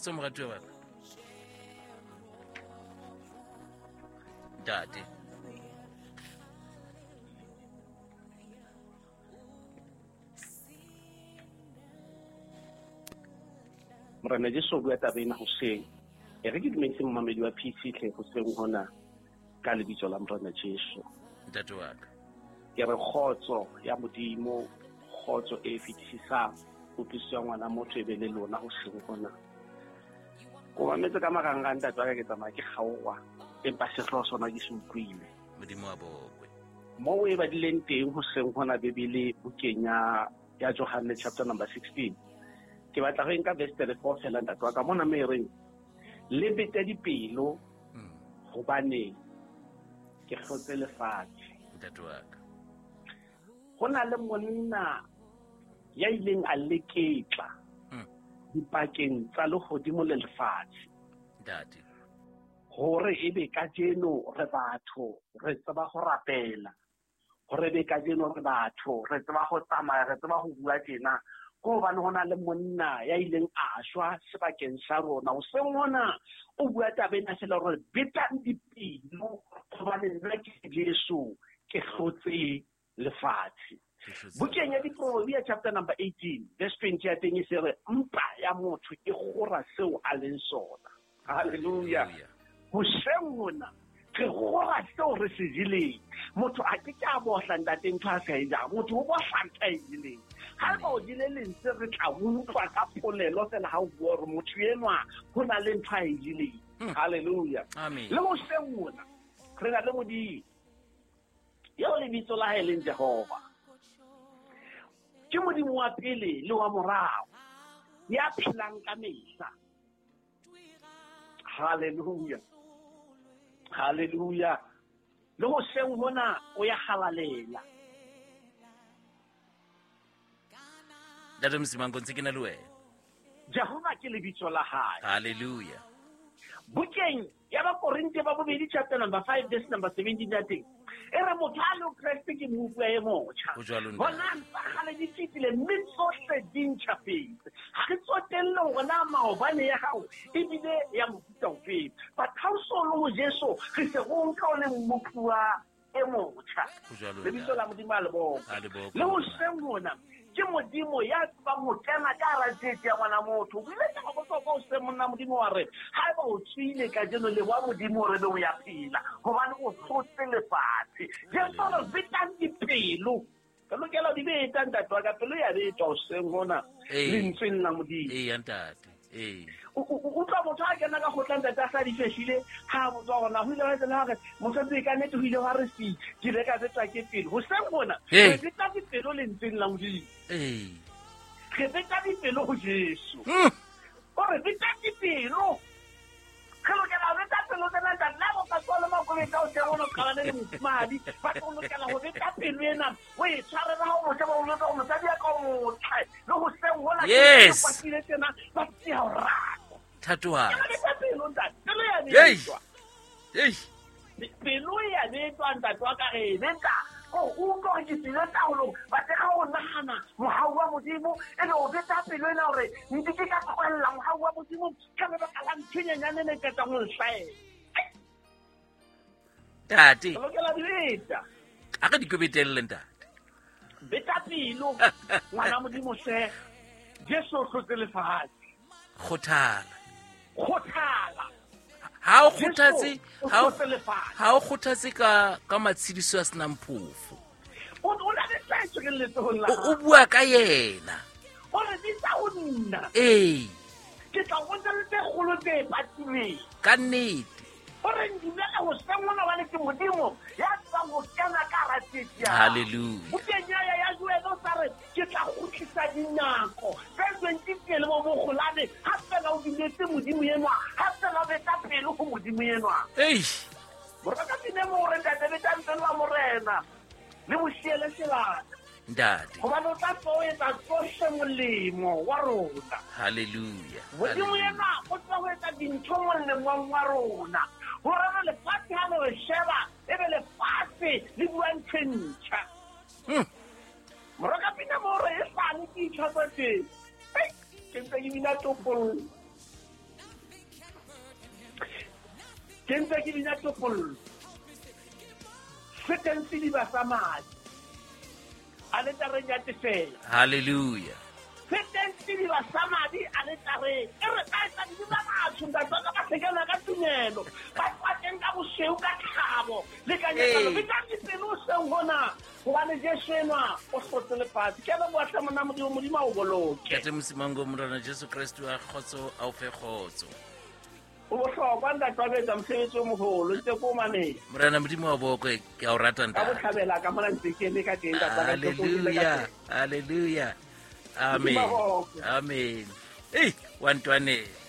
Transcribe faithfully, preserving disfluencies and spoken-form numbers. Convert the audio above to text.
Kgotso moratuwa wa ka. Ntate. Morena Jesu o bua taba ena hoseng. E re ke dumedise momamedi wa P C tle hoseng hona ka lebitso la Morena Jesu. Ntate wa ka. Ke re kgotso ya Modimo, kgotso e fetisisang kutlwisiso ya ngwana motho e be le lona hoseng hona. Ko mametse ka marangrang ntate wa ka, ke tsamaya ke kgaoha, empa sehlooho sona ke se utlwile. Modimo wa bokwe. Moo e badileng teng hoseng hona Bibele bukeng ya ya Johanne chapter number sixteen. Ke batla go nka verse thirty-four fela ntate wa ka, mona me reng le bete dipelo hobane ke hlotse lefatshe. Ntate wa ka. Ho na le monna ya ileng a leketla dipakeng tsa lehodimo le lefatshe. Ntate. Hore ebe kajeno re batho re tseba ho rapela, hore ebe kajeno re batho re tseba ho tsamaya, re tseba ho bua tjena, ko hobane ho na le monna ya ileng a shwa sebakeng sa rona. Hoseng hona o bua taba ena fela hore betang dipelo hobane nna ke Jesu ke hlotse lefatshe. Bukeng ya Diproverbia chapter number eighteen verse twenty ya teng e se re mpa ya motho e kgora seo a leng sona. Hallelujah. Hoseng hona re kgora seo re se jeleng. Motho a ke ke a bohla ntate ntho a sa e jang, motho o bohla ntho a e jeleng. Ha eba o jele lentswe re tla utlwa ka polelo fela ha o bua hore motho enwa ho na le ntho a e jeleng. Hallelujah. Le hoseng hona re na le Modimo eo lebitso la hae leng Jehova. Ke Modimo wa pele le wa morao, ya phelang ka mehla. Hallelujah. Hallelujah. Le hoseng hona o ya halalela. Ntate Msimango, ntse ke na le wena. Jehova ke lebitso la hae. Hallelujah. Bukeng ya Bakorinthe ba bobedi chapter number five verse number seventeen ya teng e re motho a le Kreste ke mmupi e motjha. Bona tsa kgale di fetile mme tsohle di ntjhafetse. Ha re tsotelle hore na maobane ya hao ebile ya mofuta ofe. But ha o so le ho Jesu re se go nka o le mmupi e motjha. Lebitso la Modimo a le bokwe. Le hoseng hona ke Modimo ya tsebang ho kena ka hara tsietsi ya ngwana motho. O ile ka bohlokwa o se monna Modimo wa re haeba o tswile kajeno le wa Modimo re be o ya phela hobane o hlotse lefatshe. Jesu re betang dipelo. Re lokela di beta ntate wa ka, pelo ya betwa hoseng hona lentsweng la Modimo. Ee ntate. Ee. Utlwa motho a kena ka kgotla ntate a sa di fehlile ha a botswa hore na ho ile hwa etsahala hore mosadi ka nnete ho ile hwa re si ke ile ka betwa ke pelo. Hoseng hona re beta dipelo lentsweng la Modimo. Ee. Re beta dipelo ho Jesu. O re beta dipelo. Re lokela ho beta pelo tsena ntate. Le ha o ka tswa le makoloi ka o teng o no qabane le mofumahadi, but o lokela ho beta pelo ena o e tshwarela ha o mo sheba o jwetsa hore mosadi ya ka o motle. Le hoseng hona ke kwatile tjena ba tseya ho rata. Thatohatsi. Ke beta pelo ntate. Pelo ya betwa. Eish. Pelo ya betwa ntate wa ka re e beta. Ko utlwa hore ke tswile taolong, ba teka ho nahana mohau wa Modimo e be o beta pelo ena hore nke ke ka tlohella mohau wa Modimo ka lebaka la ntho e nyenyane e qetang ho nhlahela. Ntate. Re lokela di beta. A re di kobetelle ntate. Beta pelo ngwana Modimo hle. Jesu o hlotse lefatshe. Kgothala. Kgothala. Ha o kgothatse, ha o ha o kgothatse ka ka matshediso a senang phofo. O o na le tlaetso ke letsohong la O bua ka yena. O re bitsa ho nna. Ee. Ke tla o bontsha le tse kgolo tse patilweng. Ka nnete. O re ndumela ho seng hona hobane ke Modimo ya tsebang ho kena ka hara tsietsi ya hao. Hallelujah. Bukeng ya ya Joele o sa re ke tla kgutlisa dinako tse twenty le bo bokgolane ha fela o dumetse Modimo enwa, ha fela o beta pelo ho Modimo enwa. Eish. Moraka pine mo re ntate betang pelo wa Morena le boshiele sebaka. Ntate. Hobane o tla tlo etsa tsohle molemo wa rona. Hallelujah. Modimo enwa o tla ho etsa dintho molemong wa rona. Hore re lefatshe ha le re sheba ebe lefatshe le bua ntho e ntjha. Moraka pina mo re e sane ke itjha tsa teng. Ke ntse ke bina topollo. Ke ntse ke bina topollo. Se teng sediba sa madi aletareng ya tefelo. Hallelujah. Se teng sediba sa madi aletareng. E re ka etsa dibe tsa batho, ntate wa ka, ba hlekela ka tumelo. Ba tswateng ka bosweu ka thabo le ka nyakallo. Ee. Betang dipelo hoseng hona, hobane Jesu enwa o hlotse lefatshe. Ke a leboha hle monna Modimo, Modimo a o boloke. Ntate Mosimango, Morena Jesu Kreste wa kgotso a o fe kgotso. O bohlokwa ntate wa betsa mosebetsi o moholo, ntse ko o mametse. Morena Modimo wa bokwe, ke a o rata Ka ntate. botlhabela ka mona ntse ke eme ka teng, ntate wa ka, ntse ko o eme ka Hallelujah, teng. hallelujah. Amen. Modimo wa bokwe. Amen. Ei, wa ntwanela.